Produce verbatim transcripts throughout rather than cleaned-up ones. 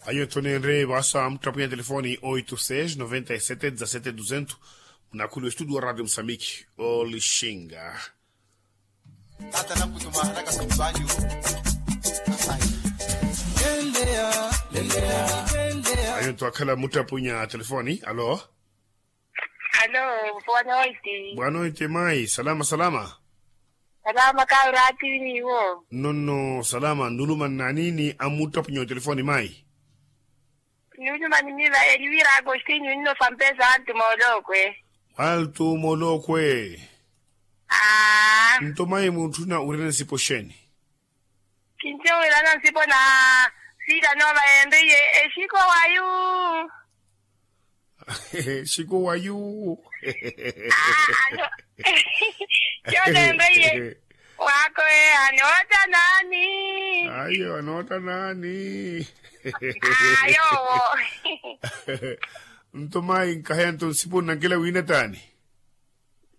Ayo ntho nenre vaasa muttapunya telefoni oito seis noventa e sete dezasete duzentos. Munakhulu estudio wa radio mosambiki, olixinga. Ayo ntho akhala muttapunya telefoni. Alo? Alo, boa noite. Boa noite mayi, salama salama. Salama kauraati niwo. Nonno salama, nuluma nnanini amuttapunya otelefoni mayi? Nuluma nimiva eliwira agostinho nino sampesa altu moolokwe. Altu moolokwe. Aa. Nto mayi muntthuna wira nsipo xeeni? Kintiya wira nsipo na sita nova enriye exiko wayu. Exiko wayu. Aa. Yo nenriye. Wako e anoota nani? Ayo anoota nani? Ayo. Nto mayi nkaheya nto nsipo nnankela wina taani?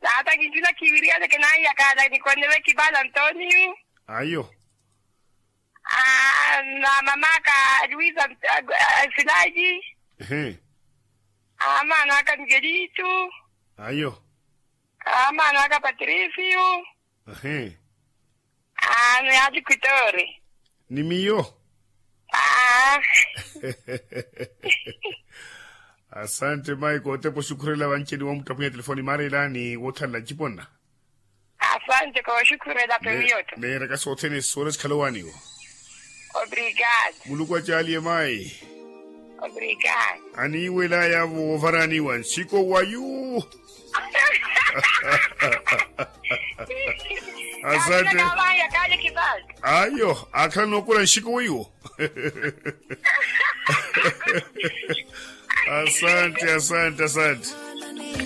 Nata kintuna kiwiriyana kenanyakala nikonneve kibala ntoni. Ayo. Aa na mamaka luisa. Silaji. Ehe. Aa manaka migelitu. Ayo. Aa manaka patrisiu. Ehe. Aa ni ati kwitori. Ni miyo. Aa. Asante mayi kootepa oxukhurela vanci ni womuttapunya telefoni maarelani woothanla nciponna. Asante kooxukhurela pemiyotto. Neeraka sothene soora sikhala owaaniwa. Obrigado. Muluku acaaliye mayi. Obrigado. Aniiwelaya voovaraniwa nsiko wayu. Asante. Ayo akhala nookula nxiku weiwo. Asante asante asante.